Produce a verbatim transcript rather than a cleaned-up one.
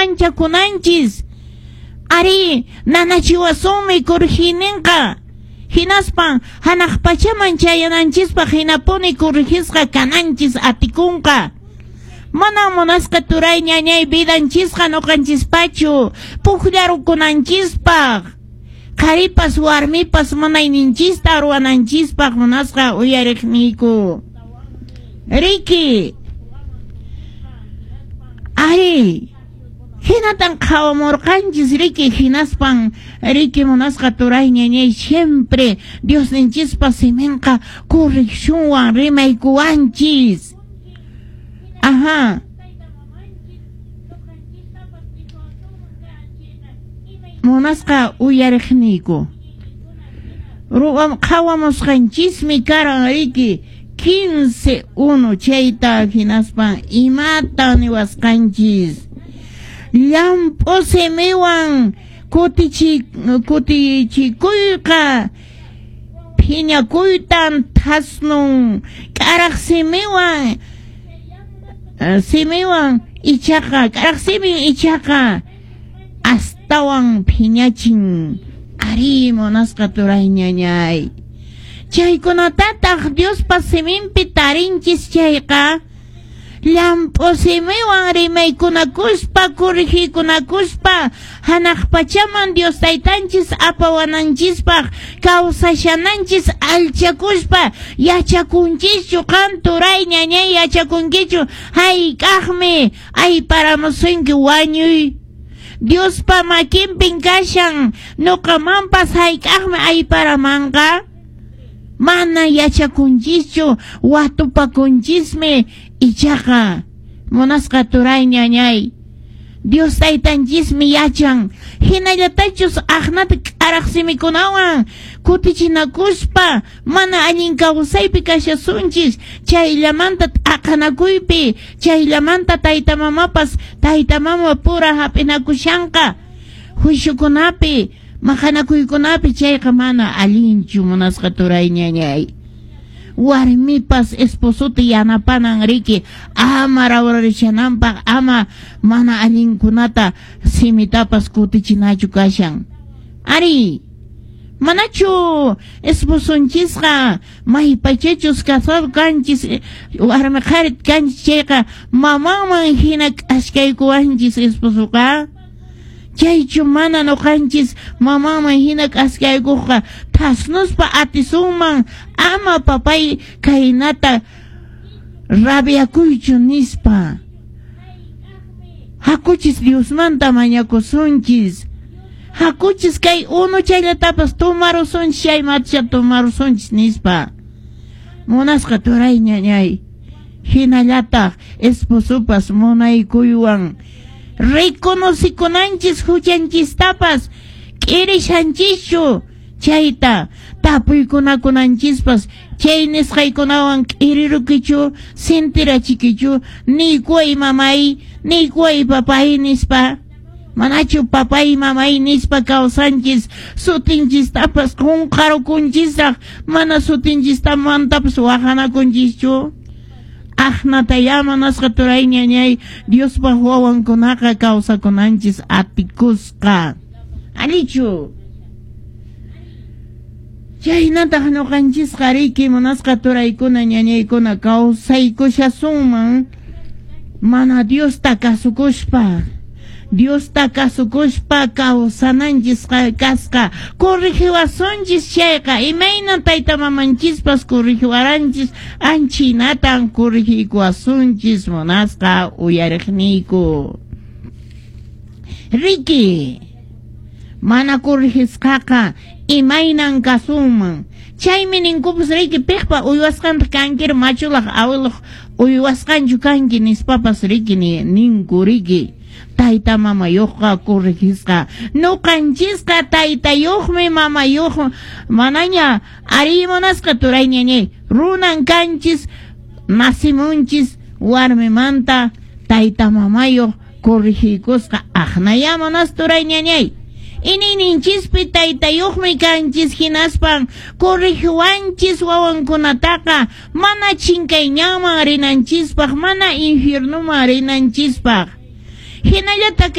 Manchakunanchis. Ari, nanachiwasunmi corrigininqa. Hinaspan hanaq pachaman chayananchispaq hinapuni corrigisqa kananchis atikunqa. Mana munasqa turay ñañay vidanchisqa nuqanchispachu pukllarukunanchispaq. Qharipas warmipas munayninchista ruwananchispaq munasqa uyariqniyku. Riki. Ari. Hinatan qhawamurqanchis riki hinaspan riki munasqa turay ñañay siempre Diosninchispa siminqa correccionwan rimaykuwanchis. Ajá. Munasqa uyariqniyku. Ruwam qhawamusqanchismi karan riki quince uno chayta hinaspan imata niwasqanchis. Llamp'u simiwan kutichi kutichikuyqa phiñakuytan thasnun k'araq simiwan simiwan ichaqa k'araq simin ichaqa astawan phiñachin. Ari munasqa turay ñañay. Chaykunatataq Diospa siminpi tarinchis chayqa llamp'u simiwan rimaykunakuspa corrigikunakuspa hanaq pachaman Dios taytanchis apawananchispaq kawsashananchis alchakuspa yachakunchischu qan turay ñañay yachakunkichu hayk'aqmi ayparamusunki wañuy. Diospa makinpin kashan nuqamanpas hayk'aqmi ayparamanqa. Mana yachakunchischu watupakunchismi ichaqa munasqa turay ñañay. Dios taytanchismi yachan hinallatachus aqnata k'araq simikunawan kutichinakuspa mana allin kawsaypi kashasunchis chayllamanta t'aqanakuypi chayllamanta tayta mamapas tayta mama pura hap'inakushanqa juiciukunapi maqanakuykunapi chayqa mana allinchu munasqa turay ñañay. Warmipas esposota yanapanan riki ama rawrarishananpaq ama mana allinkunata simitapas kutichinachu kashan. Ari, manachu esposonchisqa maypachachus casado kanchis warmi qhari kanchis chayqa mamanman hina k'askaykuwanchis esposoqa. Chaychu mana nuqanchis mamanman hina k'askaykuqqa thasnuspa atisunman ama papay kaynata rabiakuychu nispa. Hakuchis Diosmanta mañakusunchis. Hakuchis kay unu chayllatapas tumarusunchis chay matcha tumarusunchis nispa. Munasqa turay ñañay. Hinallataq esposopas munaykuywan reconocikunanchis huchanchistapas k'irishanchischu chayta tapuykunakunanchispas chay nisqaykunawan k'irirukichu sintirachikichu niykuway mamay niykuway papay nispa. Manachu papay mamay nispa kawsanchis sutinchistapas qunqarukunchisraq mana sutinchistamantapas waqanakunchischu. Aqnataya munasqa turay ñañay Diospa wawankunaqa kawsakunanchis atikusqa. Allichu. Chaynataq nuqanchisqa riki munasqa turaykuna ñañaykuna kawsaykushasunman mana Diosta kasukuspa. Diosta kasukuspa kawsananchis kasqa corrigiwasunchis chayqa imayna tayta mamanchispas corrigiwaranchis anchinatan corrigikuwasunchis munasqa uyariqniyku. Riki, mana corrigisqaqa imaynan kasunman. Chaymi ninkupas riki piqpa uywasqanta kankir machulaq awilaq uywasqanchu kanki nispapas riki ninku riki. Tayta mamayuqqa corrigisqa nuqanchisqa taytayuqmi mamayuq manaña ari munasqa turay ñañay runan kanchis nasimunchis warmimanta tayta mamayuq corrigikusqa aqnaya munas turay ñañay. Inininchishpi taytayuqmi kanchis hinaspan corrigiwanchis wawankunataqa mana chinkayñanman rinanchispaq mana infiernuman rinanchispaq. Hinallataq